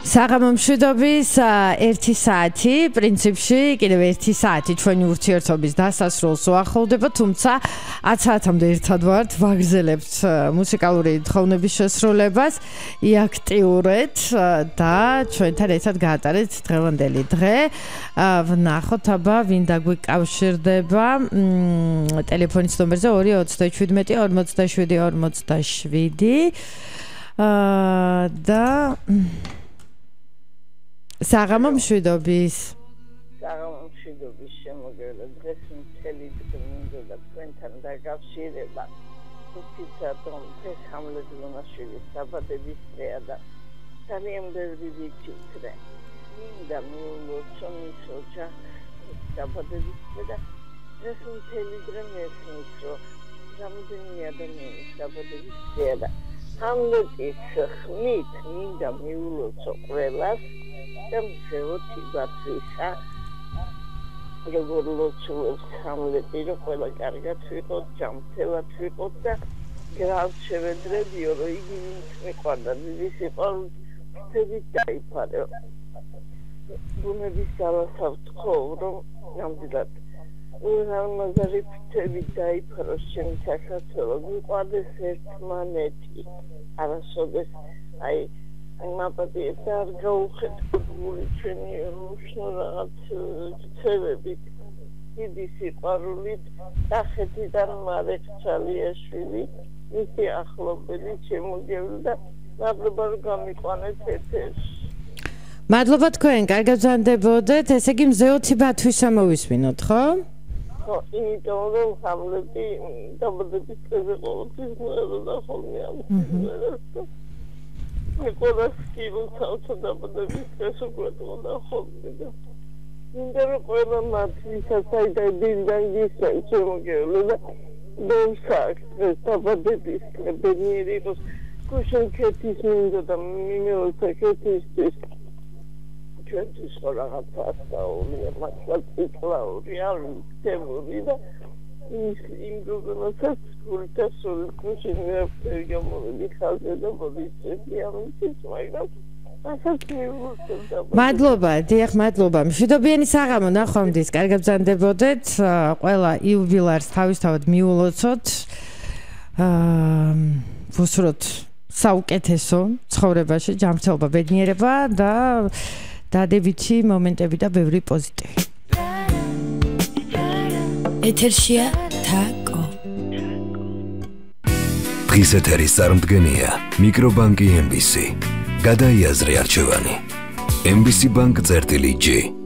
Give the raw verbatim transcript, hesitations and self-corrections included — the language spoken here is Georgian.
საღამო მშვიდობის ერთი საათი, პრინციპში კიდევ ერთი საათი ჩვენი ურთიერთობის დასასრულს უახლოვდება, თუმცა ათ საათამდე ერთად ვართ, ვაგრძელებთ მუსიკალური თხოვნების შესრულებას, იაქტიურეთ და ჩვენთან ერთად გაატარეთ დღევანდელი დღე. ვნახოთ აბა ვინ დაგვიკავშირდება ტელეფონის ნომერზე ორი ოცდაშვიდი ორმოცდაშვიდი ორმოცდაშვიდი და საღამო მშვიდობის. საღამო მშვიდობის შემოგევლა დღეს მთელი დღე მინდოდა თქვენთან დაკავშირება. ვთქვით რომ დღეს ჰამლეტ მონაშვილის დაბადების დღეა და ძალიან ბევრი ვიცით. მინდა მიულოცო მის ოჯახს დაბადების დღე და დღეს მთელი დღე მესმის რომ რამდენი ადამიანის დაბადების დღეა და ჰამლეტის ხმით მინდა მიულოცო ყველას და მზეოთი ბათვისა როგორ ლოცულობს ჰამლეტი რომ ყველა კარგად ვიყოთ, ჯანმრთელად ვიყოთ და გრავს შევედრებიო რომ იგი ვინც მიყვარდა დიდი სიყვარულით ფრთებით დაიფარო. ბუნების ძალასაც ვთხოვ რომ ნამდვილად უზარმაზარი ფრთებით დაიფარო ჩემი საქართველო, გვიყვარდეს ერთმანეთი, არასოდეს აი მაპატიეთ და არ გაუხეთქოთ გული ჩვენი უშნო რაღაც ქცევებით დიდი სიყვარულით კახეთიდან მარეხ ჩალიაშვილი მისი ახლობელი შემოგევლ და მადლობა რომ გამიყვანეთ ეთერში. მადლობა თქვენ, კარგად ვზანდებოდეთ, ესე იგი მზეოთი ბათვისა მოვისმინოთ, ხო? ხო, იმიტომ რომ ჰამლეტი დაბადების დღეზე ყოველთვის მოეროდა ხოლმე ამ მეკოლა სკილოთავთ დაბადების დღეს უგვეტყოდა ხოლმე და მინდა რომ ყველა მათ ვისაც აიდაი დილიდან გისმენ შემოგევლო და დევსაკ დღეს დაბადების დღე ბედნიერი იყოს გუშინ ქეთის მინდა და მიმეოცა ქეთისთვის ჩვენთვის ხო რაღაც ასწაულია მართლაც იკლაური არ ვიქცეული და იმ გოგონასაც გულთა სულ გუშინ მეფტერი გამოვიდი ხალხზე და მოდიცები ამისთვის მაგრამ ასაც მიულოცდა. მადლობა, დიახ, მადლობა. მშვიდობიანი საღამო ნახვამდის, კარგად ვზანდებოდეთ, ყველა იუბილარს თავისთავად მიულოცოთ. აა ვუსურვოთ საუკეთესო ცხოვრებაში, ჯანმრთელობა, ბედნიერება და დადებითი მომენტები და ბევრი პოზიტივი. ეთერშია თაკო. დღის ეთერის წარმდგენია მიკრობანკი ემ ბი სი. გადაიაზრე არჩევანი. ემ ბი სი ბანკ წერტილი ჯი.